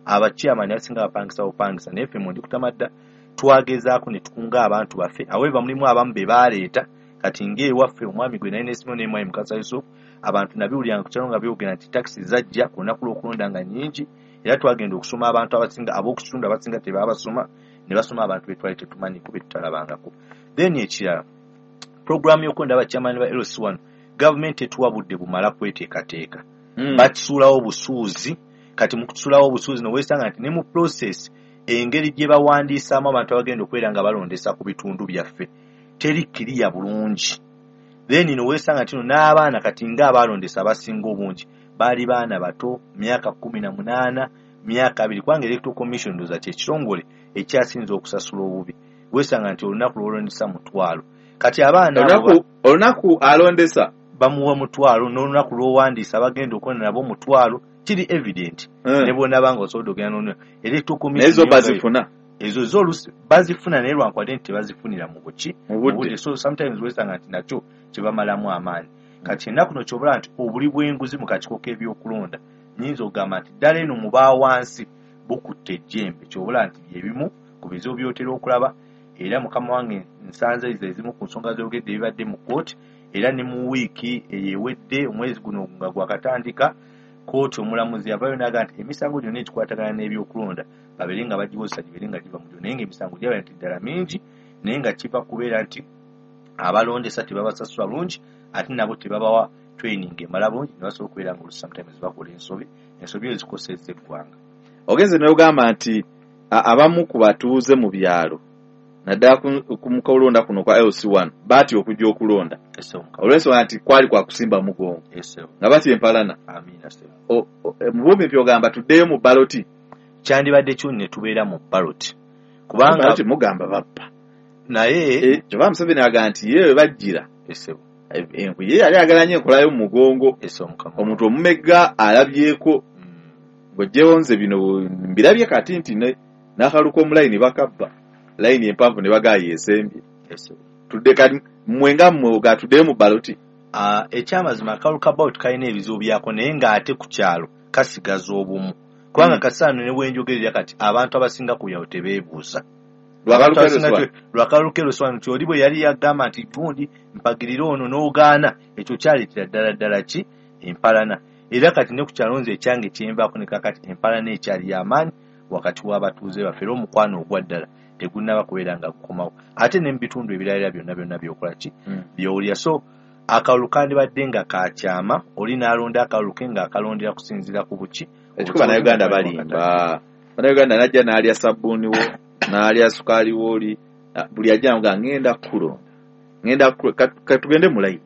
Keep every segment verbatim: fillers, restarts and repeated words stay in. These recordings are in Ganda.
Abachairman abasinga bapangisa bupangisa, naye ffe mu Ndikutamadda twagezaako ne tukunga abantu baffe. However, mulimu abamu be baleeta. Kati ng'ewaffe omwami gwe naye neesimayo naye, Mwami Mukasa Yusuf, abantu nabiwuliranga ku kyalo nga byogera nti takisi zajja ku lunaku lw'okulonda nga nnyingi, era twagenda okusoma abantu abasinga ab'oku kitundu abasinga tebaabasoma, ne basoma abantu be twali tetumanyiko, be tutalabangako. Then ekirala, programu y'okulonda abachairman ba L C one, gavumenti etuwa budde bumala kweteekateeka. Mm. Bakisuulawo busuuzi. Kati mu kusuulawo obusuuzi noweesanga nti ne mu process engeri gye bawandiisaamu abantu abagenda okubeera nga balondesa ku bitundu byaffe teri kiriya bulungi. Then noweesanga nti no n'abaana kati ng'abalondesa abasinga obungi baali baana bato, myaka kumi na munaana, myaka abiri, kubanga Electoral Commission ndowooza kyekitongole ekyasinze okusasula obubi. Weesanga nti olunaku lwolondesa mutwalo, kati abaana abo olunaku olunaku alondesa bamuwa mutwalo, n'olunaku lw'owandiisa abagenda okulonda nabo mutwalo. Kiri evident Mm. ne bwonaba nga osobola ogenda nono Electoral Naye zo Commission yo bazifuna? Ezo zo oluusi bazifuna, naye lwankwadde nti tebazifunira mu buki? Mu budde. So sometimes wesanga nti nakyo kyebamalamu amaanyi. Kati ennaku no kyobula nti obuli bw'enguzi mu kakiiko k'ebyokulonda, nyinza okugamba nti ddala eno mu baawansi bukutte ejjembe. Kyobula nti byebimu ku bizibu by'otera okulaba. Era mukama wange, nsanze ezo ezimu ku nsonga z'ogedde ebibadde mu kooti, era ne mu wiiki eyewedde, omwezi guno nga gwakatandika, kooti omulamuzi yavayo n'agamba nti emisango gyonna egikwatagana n'ebyokulonda babeere nga bagiwozesa, gibeere nga giva mu gyo. Naye ng'emisango gyaba nti ddala mingi, naye nga kiva kubeera nti abalondesa tebabasasula bulungi, ate nabo tebabawa training emala bulungi, ne basobola okubeera nga olusi sometimes bakola ensobi, ensobi ezo zikosezza eggwanga. Ogenze n'ogamba nti a- abamu ku batuuze mu byalo, naddala ku- ku mukulonda kuno kwa L C one, baatya okujja okulonda Ese omukama. olw'ensonga nti kwali kwa kusimba mugongo, Ese. nga batya empalana. Amiina, sebo. O- o- mu bumpi ogamba tuddeyo mu baloti? Kyandibadde kyuni ne tubeera mu baloti, kubanga Baloti mugamba babba. Naye Eh, kyova Museveni agamba nti ye we bajjira Esebo. enku ye yali ayagala nnyo enkolayo mu mugongo. Ese omukama. Omuntu omumegga alabyeko Mm. ng'oggyewo nze bino mbirabye kati nti ne- n'akaluka omulayini bakabba layini empanvu ne bagaayo esembye. Esebo. Tudde kati mmwe nga mmwe oga tuddeyo mu baloti? Ah, ekyamazima akalulu ka ballot kalina ebizibu byako, naye ng'ate ku kyalo kasigaza obumu, kubanga Mm. kasaano ne bwenjogerera kati abantu abasinga ku byalo tebeebuuza. Lwakalulu Abantu abasinga k'L C one. te- lwakalulu k'L C one, nti oli bwe yali yagamba nti gundi mpagirire ono n'ogaana, ekyo kyaleetera ddala ddala ki empalana. Era kati ne ku kyalo nze ekyange kyenvaako ne kakati empalana ekyali y'amaanyi wakati w'abatuuze baffe, era omukwano ogwa ddala tegunnaba kubeera nga gukomawo, ate ne mu bitundu ebirala byonna byonna byokola ki Mm. byowulira. So akalulu kandibadde nga kakyama, oli n'alonda akalulu ke ng'akalondera kusinziira ku buki. Ekikuba Bannayuganda balimba. Bannayuganda najja n'alya sabbuuni wo, n'alya sukaali wooli, na- buli ajja nga ngenda kukulonda, ngenda kukulo- ka- katugende mu layini.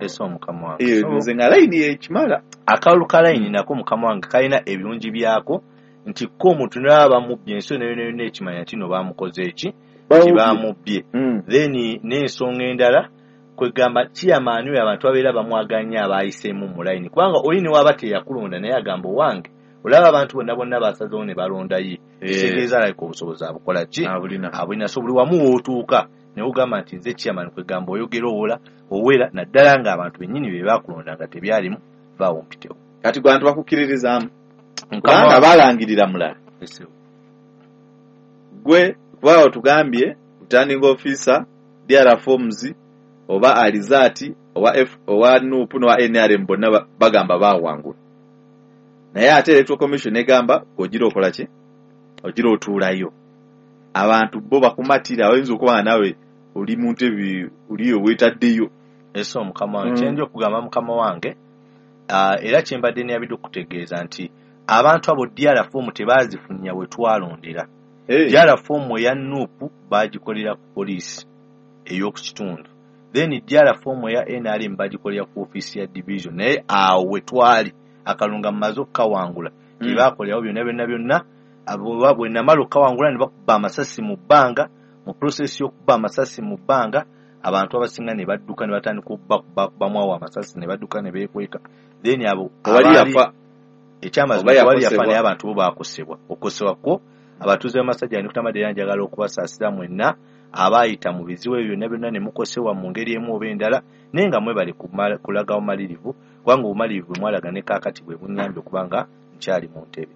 Ese omukama wange. Eh, So, nze nga layini ekimala. Akalulu ka layini nako, mukama wange, kalina ebirungi byako nti ko omuntu naaba bamubbye, ensi yonna yonna yonna ekimanya nti no bamukoze eki, nti bamubbye. Mm. Then n'ensonga endala, kwegamba chairman oyo abantu babeera bamwaganya abayiseemu mu layini, kubanga oli ne waba teyakulonda naye agamba owange, olaba abantu bonna bonna basazeewo ne balonda ye. Eh. Kitegeeza alabika obusobozi abukola ki? Abulina. Abulina. So buli wamu wootuuka naye ogamba nti nze chairman, kwegamba oyogera owola owera, naddala ng'abantu bennyini be bakulonda nga tebyalimu vaawo mpitewo. Kati gwe abantu bakukkiririzaamu? Mukama Kubanga wange. balangirira mulala. Ese. Gwe kuba otugambye returning officer, D R forms oba alizaati owa F, owa NUP n'owa N R M bonna ba- bagamba bawangula, naye ate Electoral Commission egamba ogira okola ki, ogira otuulayo. Abantu bo bakumatira? Oyinza okuba nga naawe oli mu ntebe oli weetaddeyo. Ese omukama wange. Mm. Kyenja okugamba mukama wange, ah, era kyembadde neyabidde okutegeeza nti abantu abo D R form tebazifunya we twalondera. Hey. D R form eya NUP bagikolera ku poliisi ey'oku kitundu, then D R form eya N R M bagikolera ku ofiisi ya division, naye awo we twali akalunga mumaze okukawangula Mm. tebakolerawo byonna byonna byonna. Abo bwe namala okukawangula ne bakuba amasasi mu bbanga. Mu process y'okuba amasasi mu bbanga, abantu abasinga ne badduka ne batandika okubakubamu awo amasasi ne badduka ne beekweka. Then abo Tewali abaali- yafa? Ekyamazima Oba tewali yafa, yakosebwa? naye abantu bo baakosebwa. Okukosebwa kwo abatuuze b'Amasajja Ndikutamadde, era njagala okubasaasira mwenna abaayita mu bizibu ebyo byonna byonna ne mukosebwa mu ngeri emu oba endala, naye nga mwebale kumala- kulaga bumalirivu, kubanga obumalirivu bwe mwalaga ne kaakati bwe bunnyambye okuba nga nkyali mu ntebe.